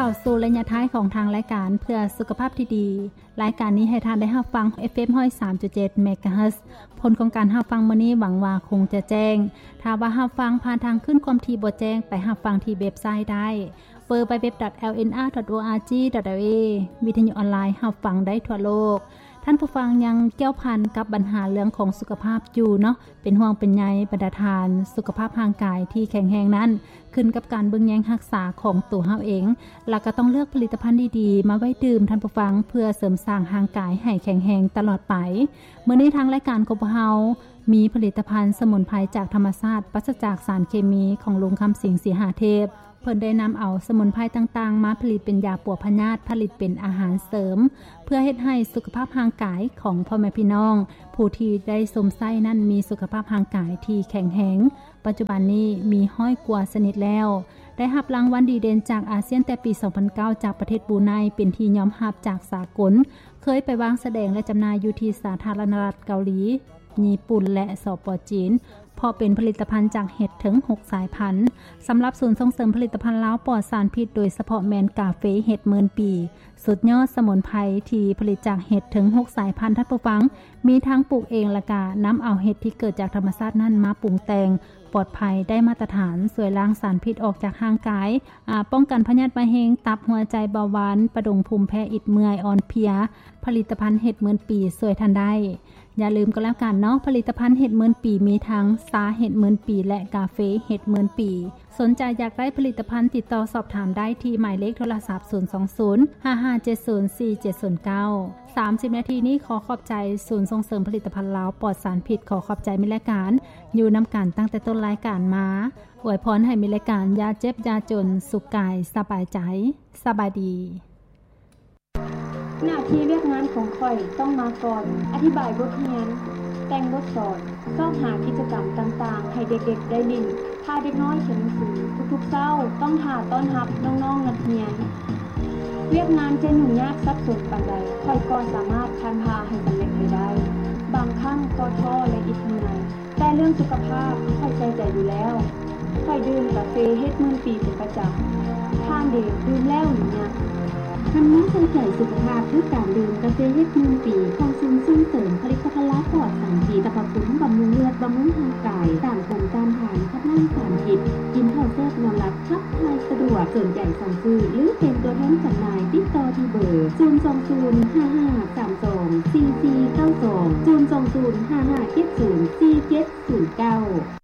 ເຂົ້າສູ່ໄລຍະທ້າຍຂອງທາງລາຍການເພື່ອສຸຂະພາບທີ່ດີ. ລາຍການນີ້ໃຫ້ທ່ານໄດ້ຮັບຟັງ ເອັຟເອັມ ຮ້ອຍສາມຈຸດເຈັດ ເມກາເຮີດ. ຜົນຂອງການຮັບຟັງມື້ນີ້ຫວັງວ່າຄົງຈະແຈ້ງ. ຖ້າວ່າຮັບຟັງຜ່ານທາງຄື້ນຄວາມຖີ່ບໍ່ແຈ້ງ, ໄປຮັບຟັງທີ່ເວັບໄຊໄດ້ ดัບເບິນຢູ ດັບເບິນຢູ ດັບເບິນຢູ ດັບເບິນຢູ ດັບເບິນຢູ ດອດ ໂອ ອາ ຈີ ດອດ ເອວ ວິທະຍຸອອນລາຍຮັບຟັງໄດ້ທົ່ວໂລກ. ທ່ານຜູ້ຟັງຍັງກ່ຽວພັນກັບບັນຫາເລື່ອງຂອງສຸຂະພາບຢູ່ເນາະ, ເປັນຫ່ວງເປັນໃຍບັນດາທ່ານ. ສຸຂະພາບຮ່າງກາຍທີ່ແຂງແຮງນັ້ນ ຂຶ້ນກັບການເບິ່ງແຍງຮັກສາຂອງຕົວເຮົາເອງ ແລະ ກໍຕ້ອງເລືອກຜະລິດຕະພັນດີໆມາໄວ້ດື່ມ, ທ່ານຜູ້ຟັງ, ເພື່ອເສີມສ້າງຮ່າງກາຍໃຫ້ແຂງແຮງຕະຫຼອດໄປ. ມື້ນີ້ທາງລາຍການຂອງພວກເຮົາມີຜະລິດຕະພັນສະໝຸນໄພຈາກທຳມະຊາດ ປາສະຈາກສານເຄມີ ຂອງລຸງຄຳສິງ ສີຫາເທບ. ເພິ່ນໄດ້ນຳເອົາສະໝຸນໄພຕ່າງໆມາຜະລິດເປັນຢາປົວພະຍາດ, ຜະລິດເປັນອາຫານເສີມ ເພື່ອເຮັດໃຫ້ສຸຂະພາບຮ່າງກາຍຂອງພໍ່ແມ່ພີ່ນ້ອງຜູ້ທີ່ໄດ້ຊົມໃຊ້ນັ້ນມີສຸຂະພາບຮ່າງກາຍທີ່ແຂງແຮງ. ປັດຈຸບັນນີ້ມີຮ້ອຍກວ່າຊະນິດແລ້ວ. ໄດ້ຮັບລາງວັນດີເດັ່ນຈາກອາຊຽນແຕ່ປີສອງພັນເກົ້າ ຈາກປະເທດບຣູໄນ ເປັນທີ່ຍອມຮັບຈາກສາກົນ, ເຄີຍໄປວາງສະແດງ ແລະ ຈຳໜ່າຍຢູ່ທີ່ສາທາລະນະລັດເກົາຫຼີ, ຍີ່ປຸ່ນ ແລະ ສປ ຈີນ ເພາະເປັນຜະລິດຕະພັນຈາກເຫັດເຖິງຫົກສາຍພັນ. ສຳລັບສູນສົ່ງເສີມຜະລິດຕະພັນລາວປອດສານພິດ, ໂດຍສະເພາະແມ່ນກາເຟເຫັດໝື່ນປີ, ສຸດຍອດສະໝຸນໄພທີ່ຜະລິດຈາກເຫັດເຖິງຫົກສາຍພັນ, ທ່ານຜູ້ຟັງ, ມີທັງປູກເອງ ແລະ ກະນຳເອົາເຫັດທີ່ເກີດຈາກທຳມະຊາດນັ້ນມາປຸງແຕ່ງ ປອດໄພ, ໄດ້ມາດຕະຖານ, ຊ່ວຍລ້າງສານພິດອອກຈາກຮ່າງກາຍ, ອາ, ປ້ອງກັນພະຍາດມະເຮັງ, ຕັບ, ຫົວໃຈ, ເບົາຫວານ, ປະດົງ, ພູມແພ້, ອິດເມື່ອຍ, ອ່ອນເພຍ. ຜະລິດຕະພັນເຫັດໝື່ນປີຊ່ວຍທ່ານໄດ້. ຢ່າລືມກໍແລ້ວກັນເນາະ, ຜະລິດຕະພັນເຫັດໝື່ນປີມີທັງຊາເຫັດໝື່ນປີ ແລະ ກາເຟເຫັດໝື່ນປີ. ສົນໃຈຢາກໄດ້ຜະລິດຕະພັນ, ຕິດຕໍ່ສອບຖາມໄດ້ທີ່ໝາຍເລກໂທລະສັບ ສູນສອງສູນ ຫ້າຫ້າເຈັດສູນ ສີ່ເຈັດສູນເກົ້າ. ສາມສິບນາທີນີ້ຂໍຂອບໃຈສູນສົ່ງເສີມຜະລິດຕະພັນລາວປອດສານພິດ, ຂໍຂອບໃຈມິດລາຍການ, ຢູ່ນຳກັນຕັ້ງແຕ່ຕົ້ນລາຍການມາ. ອວຍພອນໃຫ້ມິດລາຍການຢ່າເຈັບຢ່າຈົນ, ສຸກກາຍສະບາຍໃຈ. ສະບາຍດີ. ໜ້າທີ່ວຽກງານຂອງຂ້ອຍຕ້ອງມາກ່ອນ, ອະທິບາຍບົດຮຽນ, ແຕ່ງບົດສອນ, ຊອກຫາກິດຈະກຳຕ່າງໆໃຫ້ເດັກໆໄດ້ຫຼິ້ນ. ຖ້າເດັກນ້ອຍຂຽນໜັງສືທຸກໆເຊົ້າ, ຕ້ອງຖ້າຕ້ອນຮັບນ້ອງໆນັກຮຽນ. ວຽກງານຈະຫຍຸ້ງຍາກສັບສົນປານໃດ, ຂ້ອຍກໍສາມາດຜ່ານຜ່າໃຫ້ສຳເລັດໄປໄດ້. ບາງຄັ້ງກໍທໍ້ ແລະ ອິດເມື່ອຍ. ແຕ່ເລື່ອງສຸຂະພາບຂ້ອຍໃສ່ໃຈຢູ່ແລ້ວ. ຂ້ອຍດື່ມກາເຟເຫັດໝື່ນປີເປັນປະຈຳ. ທ່ານເດ ດື່ມແລ້ວຫຼືຍັງ? ທ່ານມາໃສ່ໃຈສຸຂະພາບດ້ວຍການດື່ມກາເຟເຫັດໝື່ນປີຂອງສູນສົ່ງເສີມຜະລິດຕະພັນລາວປອດສານພິດ, ສັບພະຄຸນບຳລຸງເລືອດ, ບຳລຸງຮ່າງກາຍ, ຕ້ານພູມຕ້ານທານ, ຂັບລ້າງສານພິດ, ກິນເຂົ້າແຊບນອນຫຼັບ, ຂັບຖ່າຍສະດວກ. ສົນໃຈສັ່ງຊື້ ຫຼື ເປັນຕົວແທນຈຳໜ່າຍ, ຕິດຕໍ່ທີ່ເບີ ສູນສອງສູນ ຫ້າຫ້າສາມສອງ ສີ່ສີ່ເກົ້າສອງ ສູນສອງສູນ ຫ້າຫ້າເຈັດສູນ ສີ່ເຈັດສູນເກົ້າ.